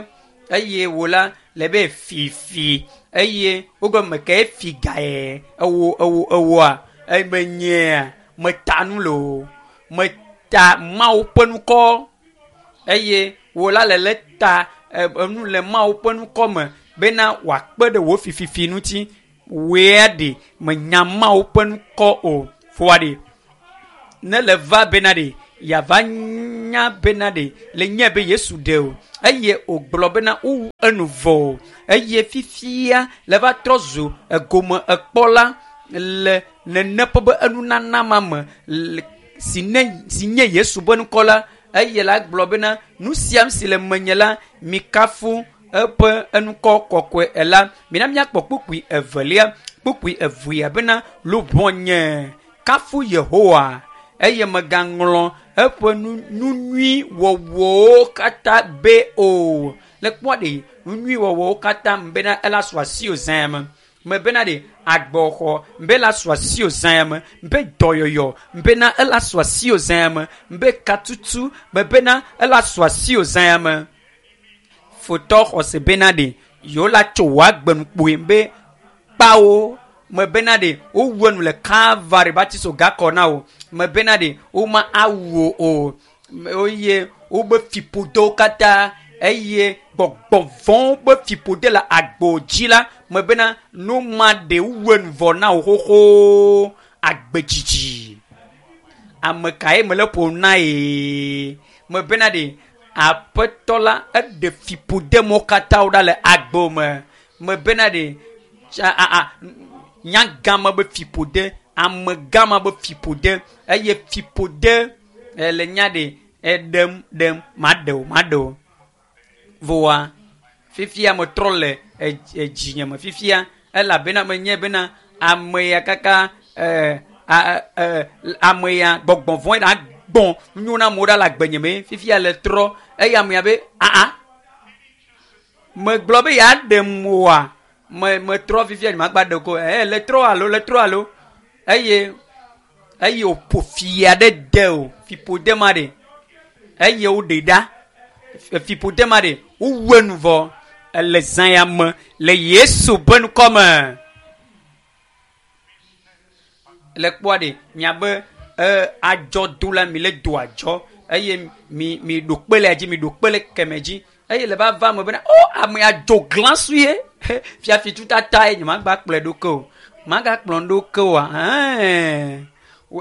eye wò la le be fifi eye wogɔme ke fi gae ewo ewo ewoa eye menyea meta nu le o meta Mawu ƒe ŋkɔ eye wò la le le ta enu le Mawu ƒe ŋkɔ me bena wòakpe ɖe wò fififi ŋuti wòea ɖe menya Mawu ƒe ŋkɔ o foa ɖe ne le va bena ɖe yava nya bena ɖe le nye be Yesu ɖe o eye wògblɔ bena wowu enu vɔ o eye fifia le va trɔ zu egome ekpɔla le nene ƒe be enunana ma me si ne si nye Yesu ƒe ŋkɔ la eye la gblɔ bena nu sia si le menye la mikafu eƒe enukɔ kɔkɔe la mina míakpɔ kpukpui evelia kpukpui evea bena luʋɔnye kafu Yehowa eye megaŋlɔ eƒe nu nu nyui wɔwɔwo katã be o le kpɔ ɖe nu nyui wɔwɔwo katã bena ela su asi o zã me me bena ɖe agbɔxɔ be la su asi o zã me be dɔyɔyɔ bena ela su asi o zã me be katutu me bena ela su asi o zã me fotɔ xɔse bena ɖe yewo la tso wò agbe nu kpoe be kpawo me bena ɖe wowu enu le Kalvari batiso gakɔ na wo me bena ɖe woma awu o eye wobe fiƒodewo katã eye gbɔgbɔvɔ̃wo ƒe fiƒode le agbo dzi la me bena nu ma ɖe wu enu vɔ na wo xoxo agbedzidzi ame kae mele ƒom na ye me bena ɖe aƒetɔ la eɖe fiƒodemɔwo katã ɖa le agbo me me bena ɖe a a nyagama be fiƒode amegama be fiƒode eye fiƒode le nya ɖe eɖem ɖem maɖe o maɖe o voa fifia metrɔ le edzinye me fifia elabena menye bena ame ya kaka ɛɛ ɛɛ ame ya gbɔgbɔ vɔ̃ la gbɔn nyo na amewo ɖa le agbenye me fifia le trɔ eye ame ya be aa megblɔ be yeaɖem oa me metrɔ fifia nye magba ɖe ko ɛ le trɔ alo le trɔ alo eye eye wòƒo fi aɖe de o fiƒode ma ɖe eye woɖe ɖa fiƒode ma ɖe wowu enu vɔ ele zã ya me le Yesu ƒe ŋkɔ me le kpɔa ɖe miabe e adzɔdo la mi le do adzɔ eye mi mi ɖo kpe le dzi mi ɖo kpe le keme dzi eye le va va me bena o ame adzo glã sue fiafi tutata ye nye magba kplɔe ɖo ke o magakplɔ ɖo ke oa ɛɛ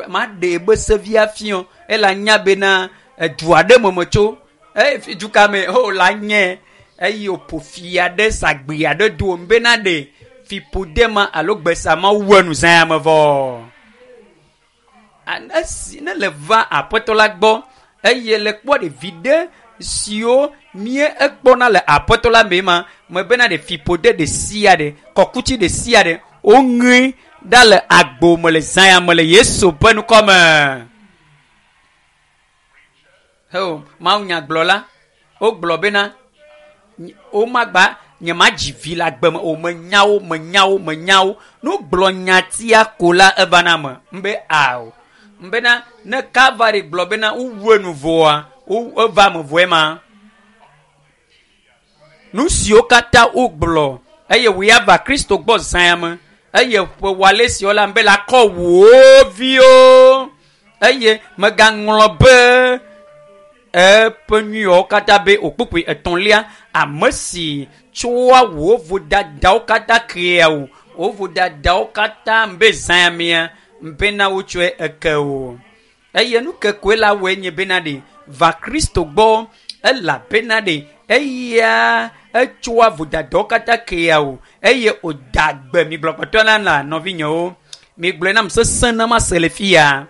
maɖe ebe sevia fiɔ ela nya bena edu aɖe me metso eye du ka me o la nye eye wòƒo fi aɖe sagbe aɖe do bena ɖe fiƒode ma alo gbesa ma wu enu zã ya me vɔ esi ne le va aƒetɔ la gbɔ eye le kpɔ ɖevi ɖe siwo mie ekpɔna le aƒetɔ la me ma me bena ɖe fiƒode ɖe sia ɖe kɔkuti ɖe sia ɖe woŋe ɖa le agbo me le zã ya me le Yesu ƒe ŋkɔ me. Heo mawunyagblɔla wogblɔ bena womagba nye ma dzi vi le agbe me o menya wo menya wo menya wo ne wogblɔ nyatia ko la eva na me mbe ao mbena ne Kalvari gblɔ bena wowu enu vɔa wo eva me vɔe ma nu siwo katã wogblɔ eye wòya va Kristo gbɔ zã ya me eye ƒe wale siwo la mbe la kɔ wò viwo eye megaŋlɔ be eƒe nyuiwo katã be okpukpui etɔ̃lia ame si tsoa wò vodadawo katã kea o wò vodadawo katã mbe zã ya mea bena wotsɔe eke o eye nu ke koe la wɔe nye bena ɖe va Kristo gbɔ elabena ɖe eya etsoa vodadawo katã kea o eye wòda gbe mi gblɔ kpɔtɔ la na nɔvinyewo mi gblɔe nam sesẽ ne mase le fia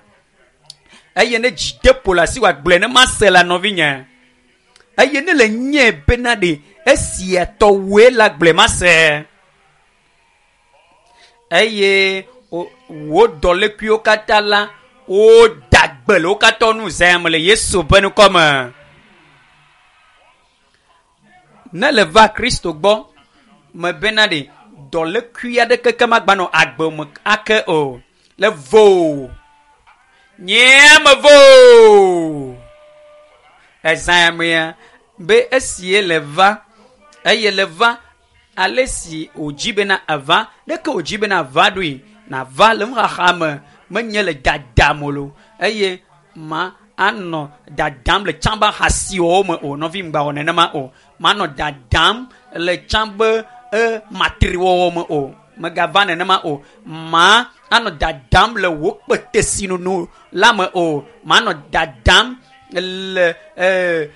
eye ne dzi de ƒo le asi wòagblɔe ne mase la nɔvinye eye ne le nye bena ɖe esia tɔwoe la gblɔe mase eye wò dɔlékuiwo katã la woda gbe le wo katã nu zã me le Yesu ƒe ŋkɔ me ne le va Kristo gbɔ me bena ɖe dɔlékui aɖeke ke magba nɔ agbe me ake o le vo nye me vo ezã ya mea be esie le va eye le va ale si wòdzi bena ava ɖeke wòdzi bena ava ɖoe nava le nuxaxa me menye le dadam o lo eye ma anɔ dadam le tsã be ahasiwɔwɔ me o nɔvi ŋgba wɔ nenema o manɔ dadam le tsã be e matriwɔwɔ me o megava nenema o ma anɔ dadam le wò kpetesinono la me o manɔ dadam le ee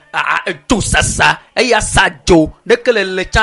dzosasa eya sa dzo ɖeke le le tsã